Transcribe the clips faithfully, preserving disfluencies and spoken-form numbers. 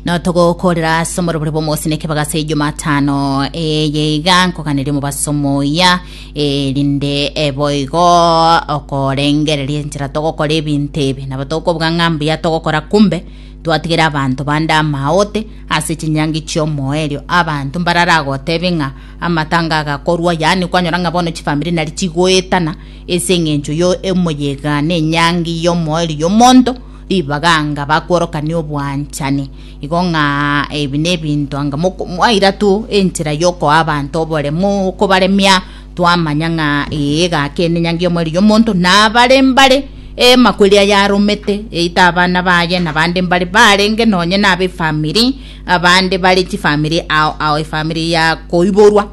No togokorera ase omorobori bwa omosi nekebagasa Jumatano eye iga nkoganeria omobaso moya, erinde eboigo okorengereria enchera togokora ebinto ebi nabo tokobuga ng'a mbuya togokora, kumbe twatigera abanto bande amaote ase chinyangi chiomoerio. Abanto mbararagotebe ng'a amatanga agakorwa, yaani kwanyora ng'a bono chifamiri nari chigoetana ase eng'encho yo emoyega na enyangi yomoerio yomonto ribaganga bakworokania obwanchani. Igo ng'a ebi na ebinto anga mwaira tu enchera yokoa abanto oboremo okobaremia, twamanya ng'a ee gaki ene enyangi yomoerio yomonto nabare mbare emakweri yaromete eita abana baye na bande mbare barenge nonye nabe efamiri, abande bare chifamiri ao ao, efamiri ya koiborwa,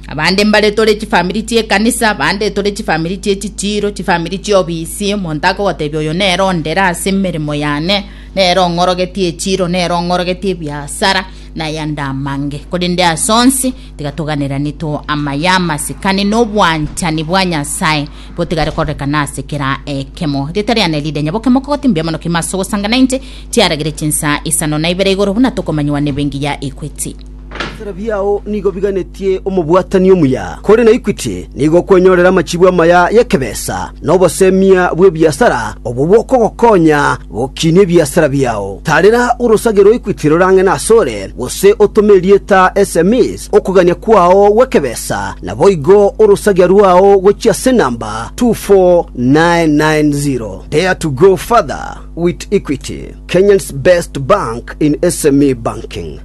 abande mbare tore chifamiri chie ekanisa, abande tore chifamiri chie chichiro, chifamiri chiobisi. Omonto akogotebia oyo nere ondere ase emeremo yane, nere ong'orogetie echiro, nere ong'orogetie ebiasara nayande amange. Korende ase onsi tiga toganerani to amaya, amasikani na obwanchani bwa Nyasaye botigare kororekana ase kera ekemo. Rieta riane ride Nyaboke Mokogoti. Mbuya mono kima ase ogosanga nainche chiaragire chinsa isano na ibere igoro buna tokomanyiwa na ebenki ya Equity. Ebiasara biao nigo biganetie omobwatani omuya kore na Equity nigo kwenyorera amachibu amaya y'ekebesa na obosemia bw'ebiasara obwo bokogokonya gokinia ebiasara biao. Tarera orosage rwa Equity rorang'e nasore gose otome erieta S M Es okogania kwao gw'ekebesa naboigo orosagia rwao gochia ase namba two four nine nine zero. Dare to go further with Equity, Kenya's best bank in S M E banking.